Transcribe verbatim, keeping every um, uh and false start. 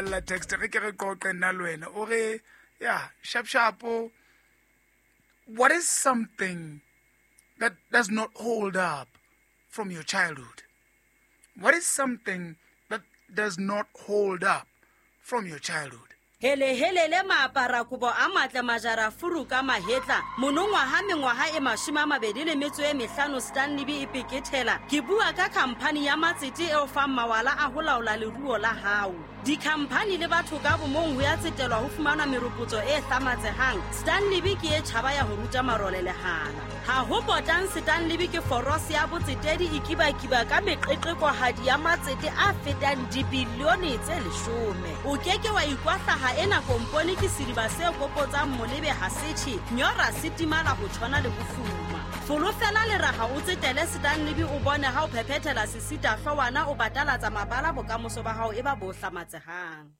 La text re ke re qoqe nna le wena o re ya sharp sharp, what is something that does not hold up from your childhood? What is something that does not hold up from your childhood? Helehelele maaparakobo a matle majara furu ka mahetla monongwaha mengwaha e mashome a mabedi le metso e mehlano Stanley e pekethela. Ke bua ka khamphani ya matsete eo fang mawala a ho laola leruo la hao. Dikhamphani le batho ka bomong ho ya tsetelwa ho fumana meropotso e hlamatsehang. Stanley ke e tjhaba ya ho ruta marole lehala. Ha ho potang Stanley ke forose ya botsetedi e kibakiba ka meqeqekohadi ya matsete a fetang dibilione tse leshome. O keke wa ikwahlaha ena kompone ke sediba se kopotsang molebe ha se tjhe, nyora se timala ho tshwana le bofuma. Folofela leraha o tsetele Stanley o bone ha o phephethela sesita hloohwana o batalatsa mabala bokamoso ba hao e ba bo hlamatsehang.